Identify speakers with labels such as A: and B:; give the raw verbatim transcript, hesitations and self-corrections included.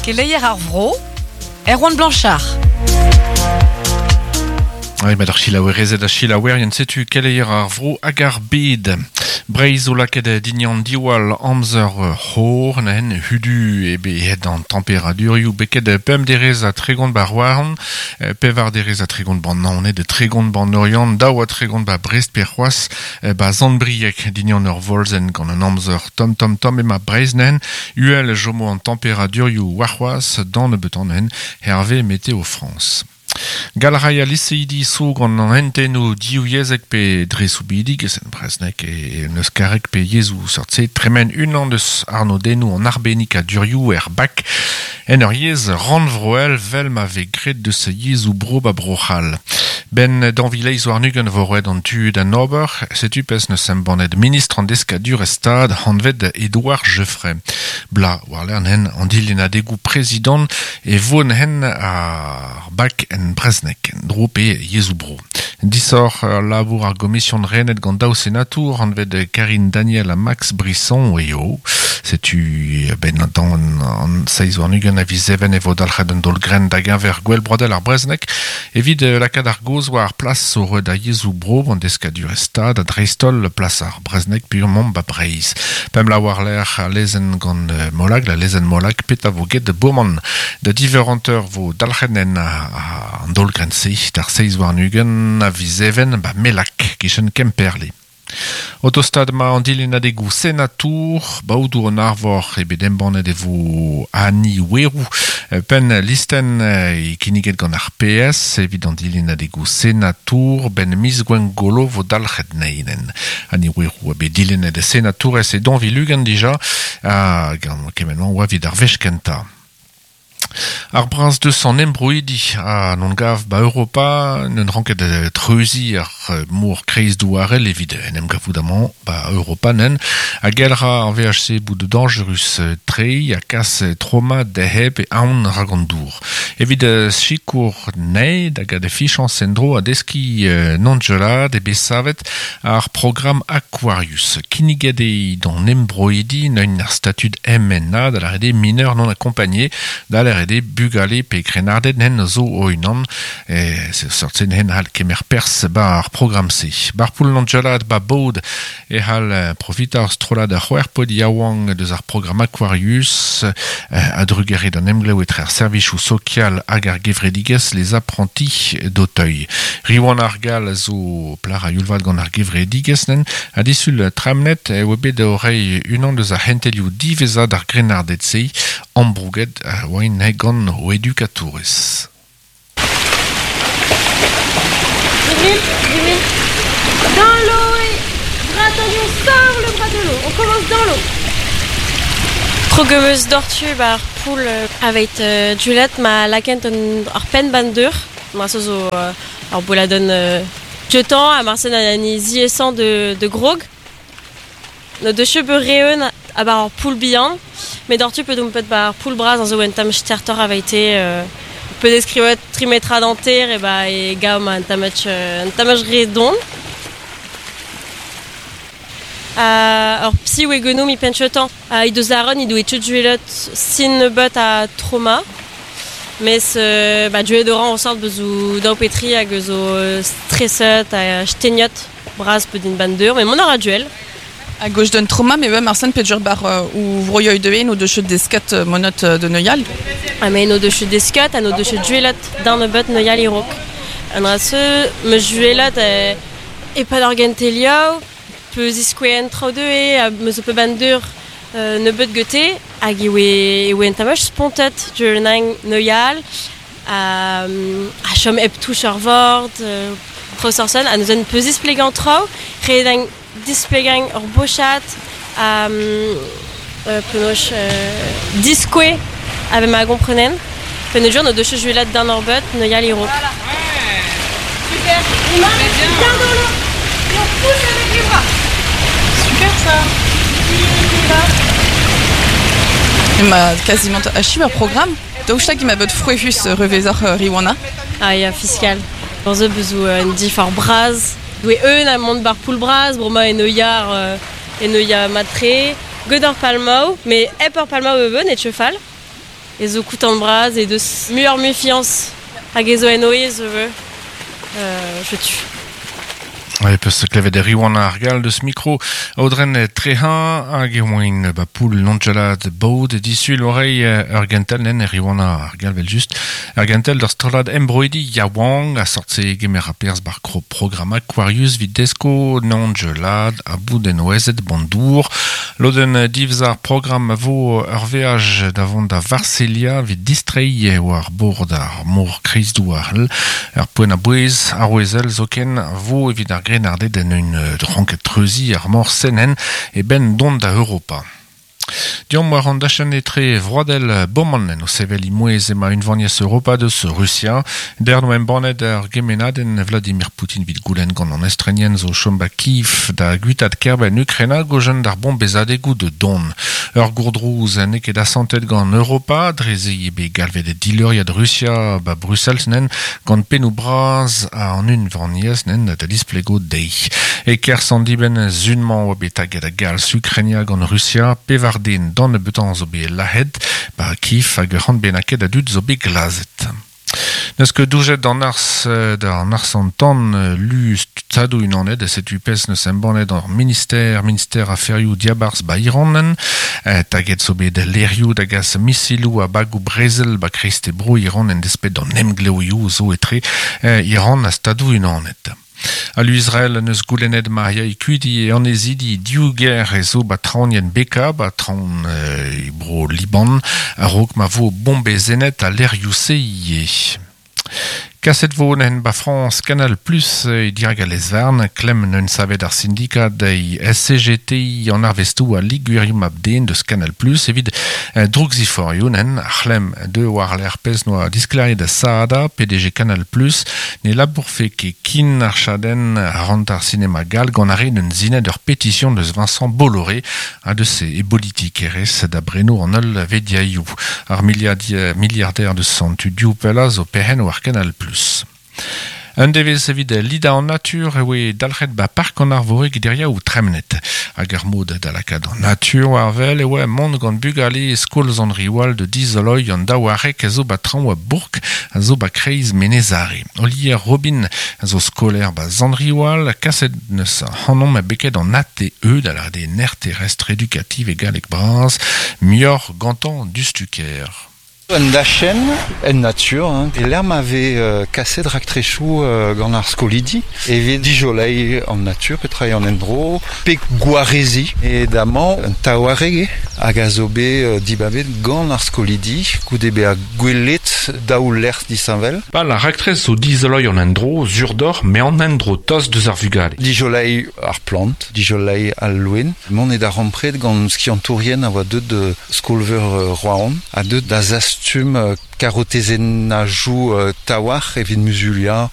A: Keleier ar vro, Erwan Blanchard.
B: Oui, ma d'ar chilaouerezet a chilaouerien setu keleier ar vro hag ar bed. Breiz o laket dignan diwal amzer c'hor, nahen hudu ebe het an temperadurioù beket pemp derez a tregont ba roaran, pevar derez a tregont ban naoned, de tregont ban oriant, daou a tregont ba Brest pe c'hoaz, ba Zandbriek dignan ur volzen gant an amzer tom tom tom ema Breiz nahen, uel jomo an temperadurioù war c'hoaz dan nebeut an Hervé Météo France. Galraia liseidi so gant an henteno diou yezek pe dresoubidig, esen breznek e neus karek pe yezou sortse, tremen unan deus arnodennou an arbennik a durioù er bak, en ur yez ranvroel vel ma ve gret deus yezou bro ba brochal. Ben danvileiz war nugen vo roet an tu d'an ober, setu pes neus embannet ministr an deskadur e stad hanvet Edouard Geffray. Bla war lern hen an dilin adegou prezident e von hen ar bak en breznek, dro pe yezou bro. Disor labour ar gomision renet gant daou senatour hanvet Karine Daniel ha Max Brisson eo. Setu ben dan an seiz war nugen a viz even e vo dalc'het an dol gren da geñver gwell brodel ar breznek evit lakaat ar goz war ar plas o da yezou bro an deskadur e stad a dreistol plas ar breznek purement ba Breiz. Pem la war l'air a lezen gant Molag, la lezen Molag pet a vo get bourman da diveranteur vo dalc'het en an dol gren se d'ar seiz war nugen a viz even ba Melak kichen Kemperle. Autostad ma an dilin adegou senatour, baoudou an arvor ebe embannet e vo Annie Werou, pen listen e kinniget gant ar P S, evit an dilin adegou senatour, ben miz gwengolo vo dalc'het neinen. Annie Werou ebe dilennet senatour ez e don vilugan dija, a gant kemenman oa vid ar vechkenta. Ar braz deus an embroidi a non gav ba Europa n'en ranket treuzi ar mor kreiz douarel evit en em gavout amañ ba Europa nen a gelra an V H C bout de dangerus trei a kas trauma deheb e aon rag an dour. Evit sikour nei da gad fichans endro a deski non gelad e besavet ar program Aquarius. Kinniget eo d'an embroidi neun ar statud M N A da la rede mineur non accompagné da la rede bugale pe krenardet nen zo oinan e se sortse nen hal kemer pers ba ar program se. Bar poul l'angelad ba bod e hal profita ar strolad ar c'hwec'h pod yaouank deus ar program Aquarius a drugare d'an emglev etre ar servichoù sokial hag ar gevredigezh les apprentis d'Auteuil. Riwan ar gal zo plar a yulvat gant ar gevredigezh nen a disul tramnet e oa bet o reiñ unan deus ar c'hentelioù diwezhañ d'ar grennarded se ambrouget oain gant o edukatourez.
C: Dans l'eau et bras tendu, on sort le bras de l'eau. On commence dans l'eau.
D: Trogemeus dortu bar poul avec euh, Juliette ma lakent an ar pen bandeur. Ma so zo euh, ar boladon euh, jetan a marsen an ziesant de de grog. No de chebe reun a bar ar poul bihan. Mais dortu peut donc peut bar poul bras an zo en tam stertor avait été euh, peut descrire trimetra dentaire et ba e gaum an tamach an tamach redon. Euh, or psi we genou mi penchetan uh, i deus aron i do etchut juelot sin bot a trauma mes euh, ba duet oran on sort bezou daou petri hag zo stresset a steniot bras peut din bandeur mais mon aura duel.
E: A gauche d'un trauma, mais même Arsène Pedjur bar ou vroyoy de no de chut deskat monot de Noyal.
D: Ah mais no de chut deskat, a no de chut duelot d'un bot Noyal irok. An ra se me juelot e, e pa d'orgentelio, pe ziskouen trao de e, a me zo pe bandur euh, ne bet gete, hag e oe, e oe en tamach spontet duelnang Noyal, a, a chom ep touch ar vord, euh, trao sorsen, a neuzen pe zisplegan trao, redang displegang ur bochat a euh, penoch euh, diskoe ave ma gomprenen penejour no deus juelat d'un orbot no yal iro.
C: Voilà. Ouais. Super. On marche bien dans l'eau et on pousse avec les bras.
E: Super ça. Ma quasiment achiv ar programme. Daoust hag ma bet frouezhus revezor Riwana.
D: Ah ya fiscal. Dans zo bezou un dif ar braz. Doe eun a mont bar poul braz, broma en oiar euh, en oia matre, god ar palmao, mais ep ar palmao e beun et chefal. E zo koutant braz e deus muioc'h mui fiañs hag e zo en oez euh, je tu.
B: Ouais, peus klevet Riwan ar gal deus mikro Aodren Trehin hag e oain ba poul nonjalad baud disul orei ur gentel nen Riwan ar gal vel just ur gentel d'ur strollad embroidi yaouank a sortse gemer a perz bar kro program Aquarius vid desko nonjalad a bout en oezet bandour loden divz ar program a vo ur veaj davont da Varselia vid distrei war bord ar mor kreizdouarl ur poent a bouez ar oezel zoken vo evit ar grenardet en un ranket treuzi ar mor senen e ben dont da Europa. Diom war an dachenn etre vroadel boman en o sevel imouez ema unvaniez Europa deus Russia. Der no embannet ar gemenadenn Vladimir Putin vid goulenn gant an estrenien zo chom ba Kiev da gwitat kerben Ukraina gojen d'ar bombezadegoù de don. Ur gourdrouz n'eo ket asantet gant Europa, dreze ebe galvet dileuriad Russia ba Brussels nen gant pennoù braz a an unvaniez nen da displego dei. E kerzh an dibenn zunmañ oa bet taget a galz Ukraina gant Russia, pevar den dan nebeutañ zo bet lahet, ba Kiev hag ur c'hant bennaket a dud zo bet glazet. Neus ket doujet d'an arz d'an arz an tan lu stadoù unanet e setu pezh neus embannet ar minister, minister aferioù diabarzh ba Iranen, taget zo bet lerioù da gas misiloù a bagoù brezel ba kreiste bro Iran en despet d'an emgleoioù zo etre Iran a stadoù unanet. Alu Israel neus goulennet ma ya ikuidi e anezidi diouger e zo ba traonien beka, ba traon e bro Liban, a-raok ma vo bombezenet a lerioù se ie. Kaset vo nen ba France Canal Plus e dirag a lezvarn, klemm neun savet ar syndikat e S C G T an arvestoù a liguerium abden deus Canal Plus evit drougziforioù nen ar c'hlemm de war l'er pez noa diskleriet da Saada, P D G Canal Plus, ne labourfe ket kin ar chadenn rant ar sinema gal gant ar re neun zinet ur pétition deus Vincent Bolloré a deus e politikerez da breno an ul vediaioù. Ar milliardi, milliardaire deus an tudiou pella zo perc'henn war Canal Plus. Un devez evit lida an natur e oe dalc'het ba park an arvoreg deria ou tremnet. Hag ar mod da lakaat an natur war vel e oe mont gant bugale skol zan riwal de dizoloi an daouarek a zo ba traoñ a bourk a zo ba kreiz Menezare. Olier Robin a zo skolaer ba zan riwal kaset neus hanom a beket an A T E da la de ner terrestre éducative e galleg braz mior gantan dustuker.
F: Un dachen, en nature, hein. E l'erm avait euh, kaset raktrechou euh, gant ar skolidi, evet dijolei en nature, petra en endro, pe gwarezi, e damañ un taouareg hag a zo bet euh, dibabet gant ar skolidi, goude be a gwelet daou lec'h disheñvel.
B: Pa la raktrez zo dizoloi an endro, zurdor, me an endro toz deus ar vugale.
F: Dijolei ar plant, dijolei al loen. Mont e da rampret gant skiantourien a oa deut de skolveur euh, Rouen, a deut da zas stum karotezennajoù taouarc'h evit muzulia